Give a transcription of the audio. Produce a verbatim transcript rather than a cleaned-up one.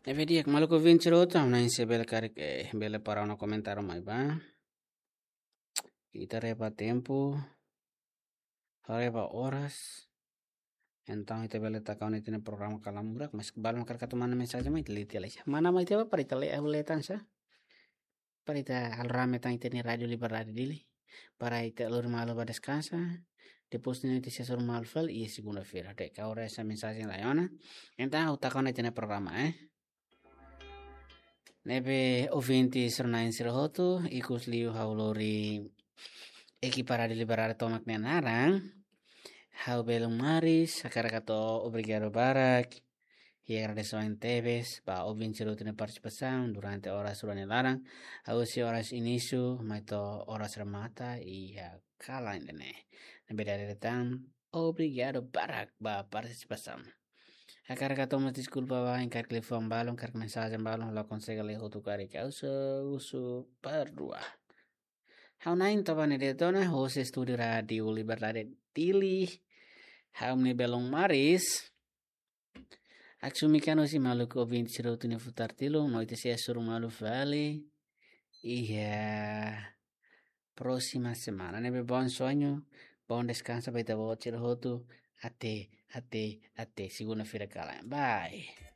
Ne'ebé di'ak, maluk ouvinte sira hotu, ha'u hanoin se bele karik, eh, bele para ona komentáriu mai ba. Ita haree ba tempu, haree ba oras. Entaun ita bele taka ona ita-nia programa Kalan Burak, mas balun karik atu manda mensajen mai, ita lee tiha lai. Manda mai tiha ba para ita lee, ha'u lee tan sá. Para ita halo rame tan ita-nia Rádiu Liberdade Dili. Para ita lori malu ba deskansa. Depois ne'e ita sei hasoru malu fali iha segunda-feira. Depois karik mensajen la iha ona. Entaun ha'u taka ona ita-nia programa, eh. Ne'ebé ouvinte sira-na'in sira hotu, ikus liu ha'u lori ekipa Rádiu Liberdade tomak nia naran. Ha'u belun Maris, hakarak hato'o obrigadu barak. I agradese tebes ba ouvinte sira hotu nia partisipasaun durante oras rua nia laran. Husi oras inísiu mai to'o oras remata iha kalan ida-ne'e. Ne'ebé dala ida tan, obrigadu barak ba partisipasaun. Hakarak hato'o mós deskulpa ba bainhira liafuan balun, karik mensajen balun la konsege lee hotu karik, ha'u husu perdua. Ha'u-nia na'in Tabane Detona, hosi estúdiu Rádiu Liberdade Dili. Ha'u-nia belun Maris. Aksumi kan hosi maluk ouvinte sira hotu nia futar tilun, no ita sei hasoru malu fali iha próxima semana. Ne'ebé bom sonho, bom deskansa ba ita-boot sira hotu. Até, até, até segunda-feira kalan. Bye.